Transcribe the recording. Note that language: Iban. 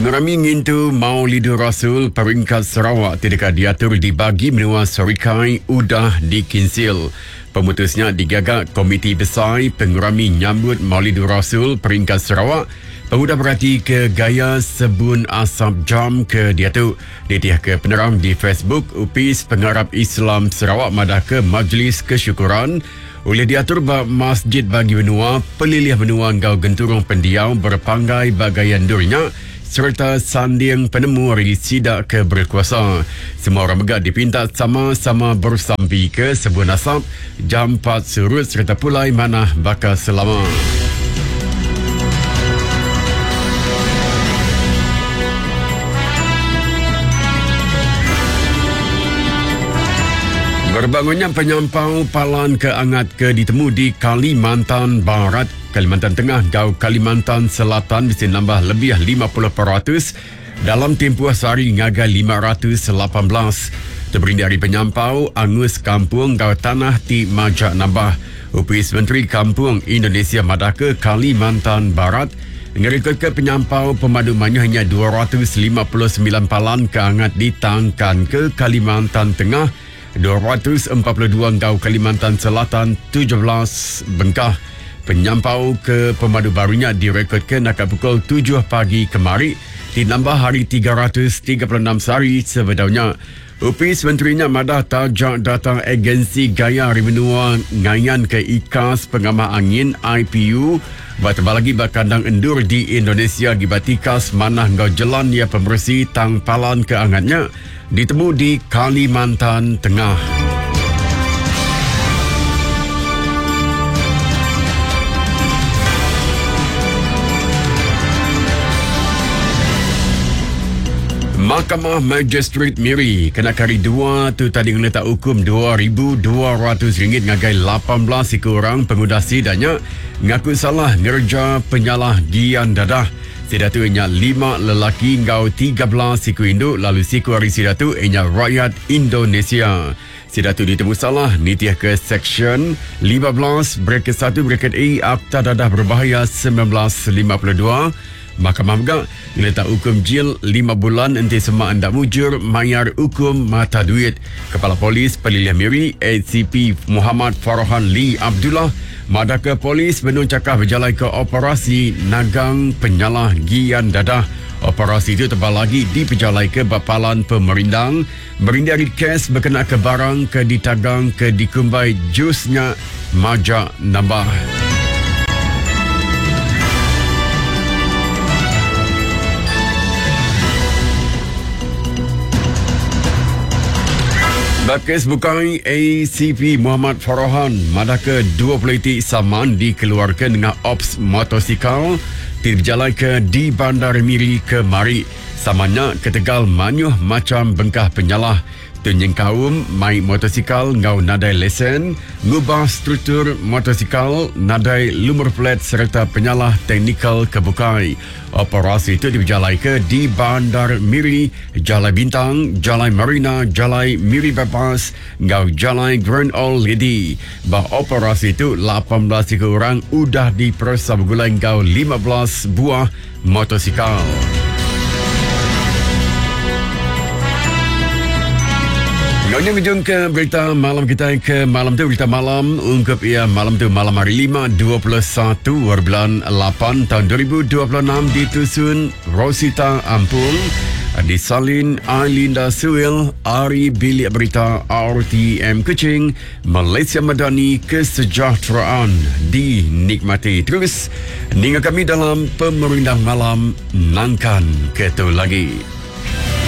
Pengerami ngintu Maulidur Rasul peringkat Sarawak ti deka diatur di bagi menua Serikai udah dikinsil. Pemutus nya digaga Komiti Besai Pengerami Nyambut Maulidur Rasul peringkat Sarawak pengudah beratika gaya sebun asap jam ke diatu. Nitihka penerang di Facebook, Opis Pengarap Islam Sarawak madahka Majlis Kesyukuran ulih diatur ba masjid bagi menua, pelilih menua enggau genturung pendiau berepanggai ba gaya endur nya sereta sanding penemu ari sida ke berekuasa. Semua orang mega dipinta sama-sama beresampika sebun asap jampat surut sereta pulai manah baka selama. Berbangunnya penyampau palan ke angat ke ditemu di Kalimantan Barat, Kalimantan Tengah enggau Kalimantan Selatan bisi nambah lebih 50% dalam timpuh sehari ngagai 518. Teberindik ari penyampau angus kampung enggau tanah ti majak nambah. Opis Menteri Kampung Indonesia madahka Kalimantan Barat ngerikodka penyampau pemadu mayuh nya 259 palan ke angat ditangkanka Kalimantan Tengah 242 enggau Kalimantan Selatan 17 bengkah. Penyampau ke pemadu baru nya direkodka naka pukul 7 pagi kemari ti nambah ari 336 sehari sebedau nya. Opis menteri nya madah taja data Agensi Gaya Hari Menua ngayanka ikas pengamah angin, IPU, ba tebal agi ba kandang endur di Indonesia agi ba tikas manah enggau jelan iya pemeresi tang palan ke angat nya ditemu di Kalimantan Tengah. Mahkamah Magistrate Miri kena kari dua tu tadi ngeletak hukum RM2,200 ngagai 18 iku orang pengudah sida nya ngaku salah ngereja penyalah gian dadah. Sida tu nya lima lelaki enggau 13 iku indu lalu siku ari sida tu nya rakyat Indonesia. Sida tu ditemu salah nitihka Seksyen 15 Bracket 1 Bracket A Akta Dadah Berbahaya 1952. Mahkamah mega ngeletak ukum jil lima bulan enti sema enda mujur mayar ukum mata duit. Kepala Polis Pelilih Miri, ACP Muhammad Farhan Lee Abdullah madahka polis benung chakah bejalaika operasi nagang penyalah gian dadah. Operasi tu tebal agi dipejalaika ba palan pemerindang Berindik ari kes bekenaka barang ke ditagang ke dikumbai jus nya majak nambah. Ba kes bukai, ACP Muhammad Farhan madahka 20 iti saman dikeluarka nengah Ops Motosikal ti dipejalaika di Bandar Miri kemari. Sama nya ketegal mayuh macham bengkah penyalah tu nyengkaum mai motosikal enggau nadai lesen, ngubah struktur motosikal, nadai lumur plat sereta penyalah teknikal ke bukai. Operasi tu dipejalaika di Bandar Miri, Jalai Bintang, Jalai Marina, Jalai Miri Bypass enggau Jalai Grand Old Lady. Ba operasi tu, 18 iku orang udah diperesa begulai enggau 15 buah motosikal. Enggau nya ngejung ke berita malam kita ke malam tu berita malam ungkup ia malam tu malam hari 5 21 bulan 8 tahun 2026 ditusun Rosita Ampung disalin Ailinda Suil ari bilik berita RTM Kuching Malaysia Madani kesejahteraan dinikmati. Terus ninga kami dalam pemerindang malam nangkan ke tu lagi.